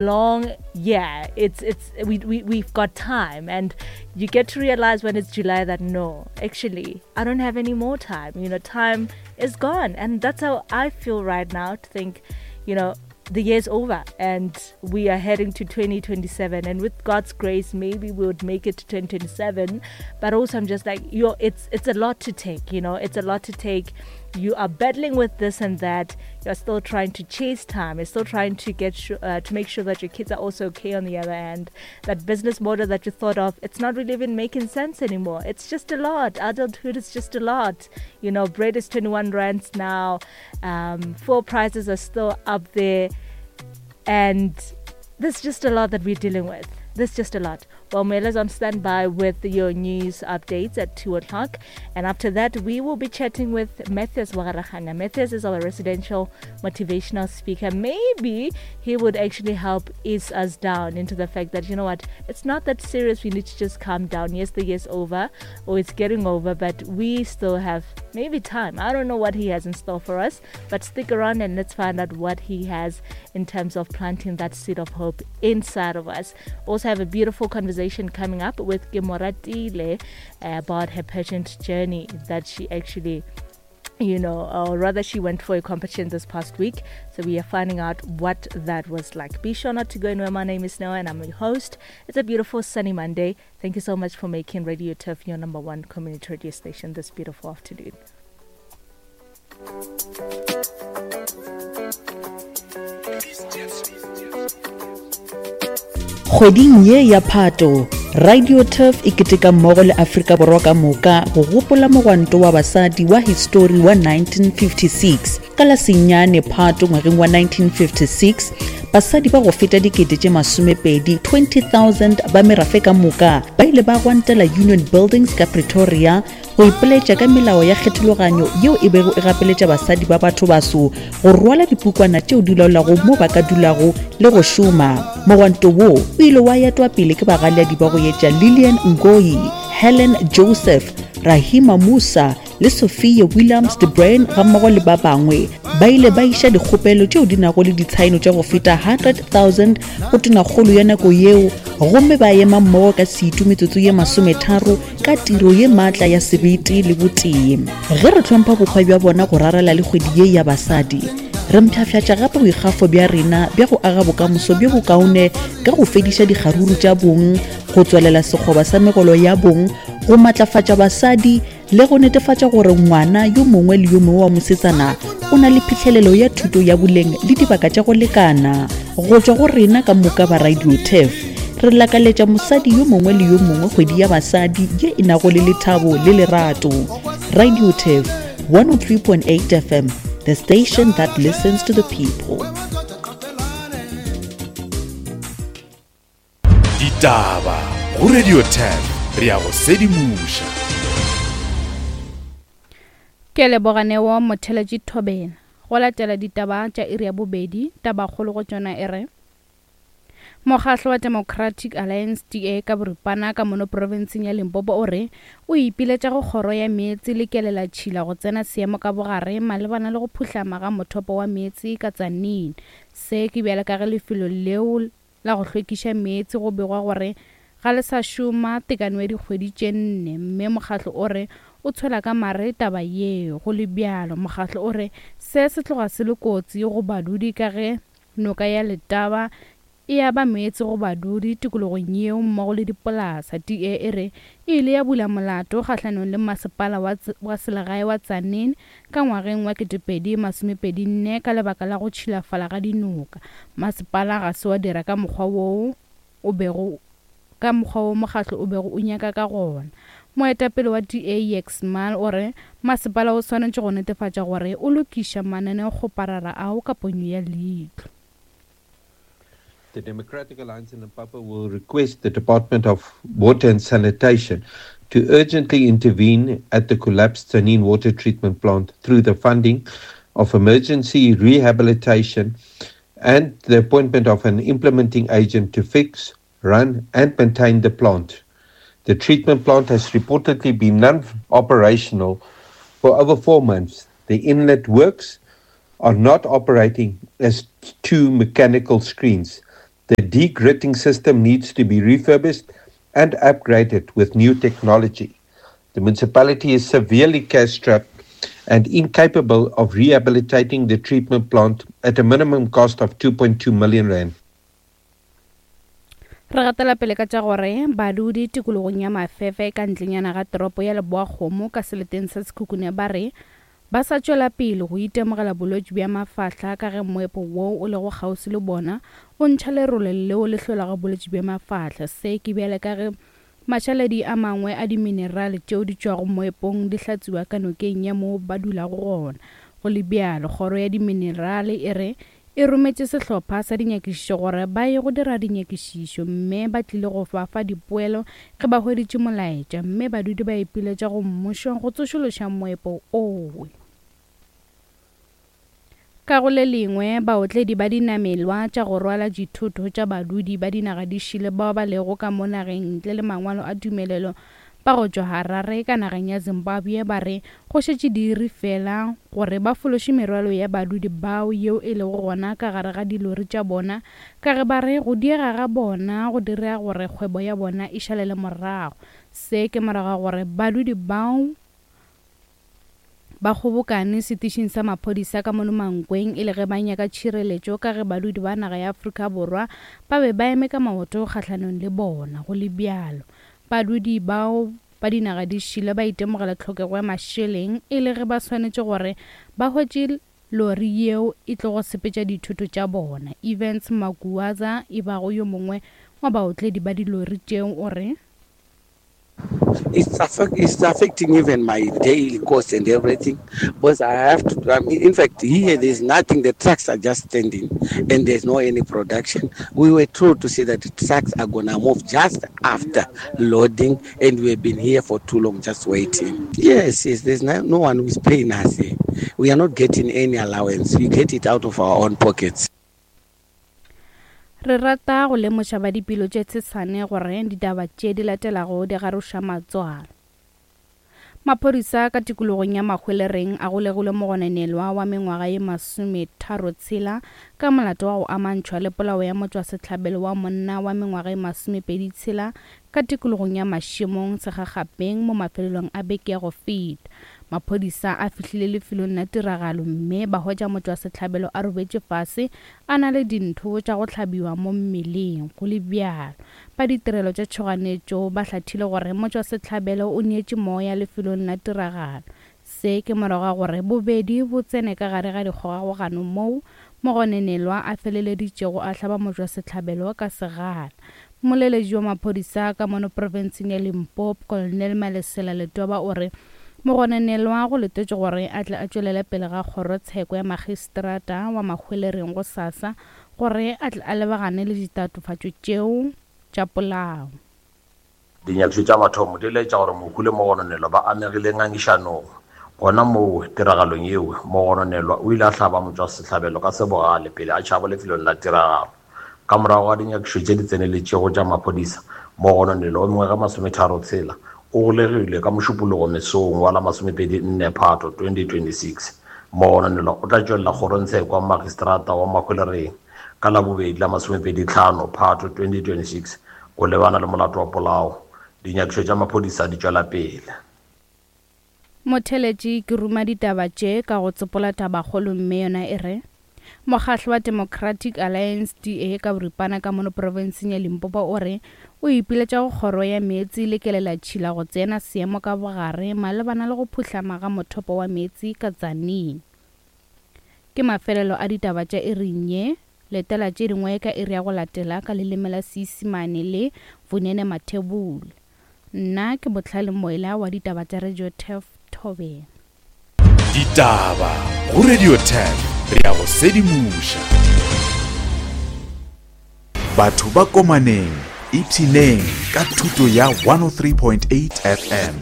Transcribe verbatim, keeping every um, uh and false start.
Long year. It's it's we, we we've got time, and you get to realize when it's July that no, actually I don't have any more time. You know, time is gone, and that's how I feel right now, to think, you know, the year's over and we are heading to twenty twenty-seven, and with God's grace maybe we would make it to twenty twenty-seven. But also I'm just like, yo, it's it's a lot to take you know It's a lot to take. You are battling with this and that. You're still trying to chase time. You're still trying to get sure, uh, to make sure that your kids are also okay on the other end. That business model that you thought of, it's not really even making sense anymore. It's just a lot. Adulthood is just a lot you know Bread is twenty-one rands now um, Fuel prices are still up there, and there's just a lot that we're dealing with. There's just a lot. Well, Mela's on standby with your news updates at two o'clock. And after that, we will be chatting with Matthias Wagarahana. Matthias is our residential motivational speaker. Maybe he would actually help ease us down into the fact that, you know what, it's not that serious. We need to just calm down. Yes, the year's over or it's getting over, but we still have maybe time. I don't know what he has in store for us, but stick around and let's find out what he has in terms of planting that seed of hope inside of us. Also have a beautiful conversation coming up with Gimoratile about her pageant journey that she actually you know, or rather, she went for a competition this past week. So we are finding out what that was like. Be sure not to go anywhere. My name is Noah and I'm your host. It's a beautiful sunny Monday. Thank you so much for making Radio Turf your number one community radio station this beautiful afternoon. Kgweding ye ya Phato, Radio Turf e keteka mmogo le Afrika Borwa ka moka go gopola mogwanto wa basadi wa histori wa nineteen fifty-six. Ka la senyane Phato ngwageng wa nineteen fifty-six, basadi ba go feta dikete tše masomepedi twenty thousand ba merafe ka moka ba ile ba gwantela Union Buildings ka Pretoria go ipoletša ka melao ya kgethologanyo yeo e bego e gapeletša basadi ba batho baso go rwala dipukwana tšeo di laolago mo ba ka dulago le go šoma. Mogwanto wo o ile wa etwa pele ke bagaleadi ba go etša Lilian Ngoyi, Helen Joseph, Rahima Moosa le Sophia Williams de Bruyn gammogo le ba bangwe. Ba ile ba iša dikgopelo tšeo di nago le ditshaeno tša go feta one hundred thousand go tonakgolo ya nako yeo gomme ba ema mmogo ka setu metsotso ye masometharo ka tiro ye maatla ya sebete le botee. Ge re hlompha bokgwa bja bona go rarela le kgwedi ye ya basadi, re mpshaffatša gape boikgafo bja rena bja go aga bokamoso bjo bokaone ka go fediša dikgaruru tša bong, go tswalela sekgoba sa megolo ya bong, go matlafatša basadi le go netefatša gore ngwana yo mongwe le yo mongwe wa mosetsana o na le phihlelelo ya thuto ya boleng le dibaka tša go lekana. Go tšwa go rena ka moka ba Radio Turf, re lakaletša mosadi yo mongwe le yo mongwe kgwedi ya basadi ye e nago le lethabo le lerato. Radio Turf one oh three point eight F M, the station that listens to the people. Ditaba go Radio ten, re ya go sedimoša. Ke leboganewo motheletši thobela. Go latela ditaba tša iri ya bobedi, tabakgolo go tšona e re mokgahlo wa Democratic Alliance, D A ka boripana, ka mono profenseng ya Limpopo o re o ipiletša go kgoro ya meetse le kelelatšhila go tsena seemo ka bogare malebana le go phuhlama ga mothopo wa meetse ka Tzaneen. Se ke bjale ka ge lefelo leo la go hlwekiša meetse go begwa gore ga le sa šoma tekano ya dikgwedi tše nne, mme mokgahlo o re o tshwela ka mare taba yeo. Go le bjalo, mokgahlo o re se se tloga se le kotsi go badudi ka ge noka ya Letaba e aba meetse go badudi tikologong yeo mmogo le dipolasa. D A e re e ile ya bula molato kgahlanong le masepala wa, wa selegae wa Tzaneen ka ngwageng wa ketepedi masomepedi nne ka lebaka la go tšhilafala ga dinoka. Masepala ga se wa dira ka mokgwa woo o bego ka mokgwa wo mokgahlo o bego o nyaka ka gona. Moetapele wa D A Jakes Smal o re masepala o swanetše go netefatša gore o lokiša mananeokgoparara ao ka ponyo ya leihlo. The Democratic Alliance in Limpopo will request the Department of Water and Sanitation to urgently intervene at the collapsed Tzaneen water treatment plant through the funding of emergency rehabilitation and the appointment of an implementing agent to fix, run, and maintain the plant. The treatment plant has reportedly been non operational for over four months. The inlet works are not operating as two mechanical screens The degritting system needs to be refurbished and upgraded with new technology. The municipality is severely cash-strapped and incapable of rehabilitating the treatment plant at a minimum cost of two point two million rand. Re gatela pele ka tša gore badudi tikologong ya Mafefe ka ntlenyana ga toropo ya Leboakgomo ka seleteng sa Sekhukhune ba re ba sa tšwela pele go itemogela bolwetši bja mafahla ka ge moepo woo o lego kgauswi le bona o ntšha lerole leo le hlolago bolwetši bja mafahla. Se ke bjale ka ge mašaledi a mangwe a diminerale tšeo di tšwago moepong di hlatswiwa ka nokeng ya moo ba dulago gona. Go le bjalo, kgoro ya diminerale e re e rometše sehlopha sa dinyakišišo gore ba ye go dira dinyakišišo mme ba tlile go fa fa dipoelo ge ba hweditše molaetša, mme badudi ba ipiletša go mmušo go tsošološa moepo owe. Ka go le lengwe, baotledi ba dinamelwa tša go rwala dithoto tša badudi ba dinaga di šele bao ba lego ka mo nageng ntle le mangwalo a tumelelo ba go tšwa Harare ka nageng ya Zimbabwe ba re go šetše diiri fela gore ba fološe merwalo ya badudi bao yeo e lego gona ka gare ga dilori tša bona, ka ge ba re go diega ga bona go dira gore kgwebo ya bona e šalele morago. Se ke morago ga gore badudi bao ba kgobokane setišing sa maphodisa ka mono Mankweng e le ge ba nyaka tšhireletšo ka ge badudi ba naga ya Afrika Borwa ba be ba eme ka maoto kgahlanong le bona. Go le bjalo, badudi bao ba dinaga di šile ba itemogela tlhokego ya mašeleng e le ge ba swanetše gore ba hwetše lori yeo e tlo go sepetša dithoto tša bona. Evans Makuaza e bago yo mongwe wa baotledi ba dilori tšeo o re It's, affect, it's affecting even my daily cost and everything, because I have to, I mean, in fact, here there's nothing, the trucks are just standing and there's no any production. We were told to say that the trucks are going to move just after loading, and we've been here for too long just waiting. Yes, yes, there's no, no one who is paying us here. We are not getting any allowance. We get it out of our own pockets. Re rata go lemoša ba dipelo tše tshesane gore ditaba tše di latelago di garoša matswalo. Maphodisa ka tikologong ya Mahwelereng a golegile mogononelwa wa mengwaga ye masometharo tshela ka molato wa go amantšhwa le polao ya motšwasehlabelo wa monna wa mengwaga ye masomepedi tshela ka tikologong ya Mašemong Segagapeng mo mafelelong a beke ya go feta. Maphodisa a fihlile lefelong la tiragalo mme ba hwetša motšwasehlabelo a robetše fase a na le dintho tša go hlabiwa mo mmeleng. Go le bjalo, ba ditirelo tša tšhoganetšo ba hlathile gore motšwasehlabelo o neetše moya lefelong la tiragalo. Se ke morago ga gore bobedi bo tsene ka gare ga dikgogakgogano moo mogononelwa a feleleditšego a hlaba motšwasehlabelo ka segala. Moleletši wa maphodisa ka mono profenseng ya Limpopo, Colonel Malesela Letoba o re mogononelwa go letetše gore a tle a tšwelele pele ga kgorotsheko ya magistrata wa Mahwelereng go sasa gore a tle a lebagane le ditatofatšo tšeo tša polao. Dinyakišišo tša mathomo di laetša gore mohu le mogononelwa ba amegile ngangišanong. Gona moo tiragalong yeo, mogononelwa o ile a hlaba motšwasehlabelo ka sebogale pele a tšhaba lefelong la tiragalo. Ka morago ga dinyakišišo tše di tseneletšego tša maphodisa, mogononelwa wa mengwaga masometharo tshela o golegilwe ka Mošupologo mesong wa la masomepedi nne Phato twenty twenty-six. Mogononelwa o tla tšwelela kgorongtsheko wa magistrata wa Mahwelereng ka Labobedi la masomepedi tlhano Phato twenty twenty-six go lebana le molato wa polao. Dinyakišišo tša maphodisa di tšwela pele. Motheletši ke ruma ditaba tše ka go tsopola tabakgolo mme yona e re Mokgatlo wa Democratic Alliance D A ka boripana ka mono profenseng ya Limpopo o re o ipiletša go kgoro ya meetse le kelelatšhila go tsena seemo ka bogare malebana le go phuhlama ga mothopo wa meetse ka Tzaneen. Ke mafelelo a ditaba tša iring ye. Letela tše dingwe ka iri ya go latela ka leleme la Seisemane le Vunene Mathebula. Nna ke Botlhale Moela wa ditaba tša Radio Turf Thobela. Ditaba go Radio Turf, re ya go sedimoša. Batho ba komaneng, ipshineng ka thuto ya one oh three point eight F M.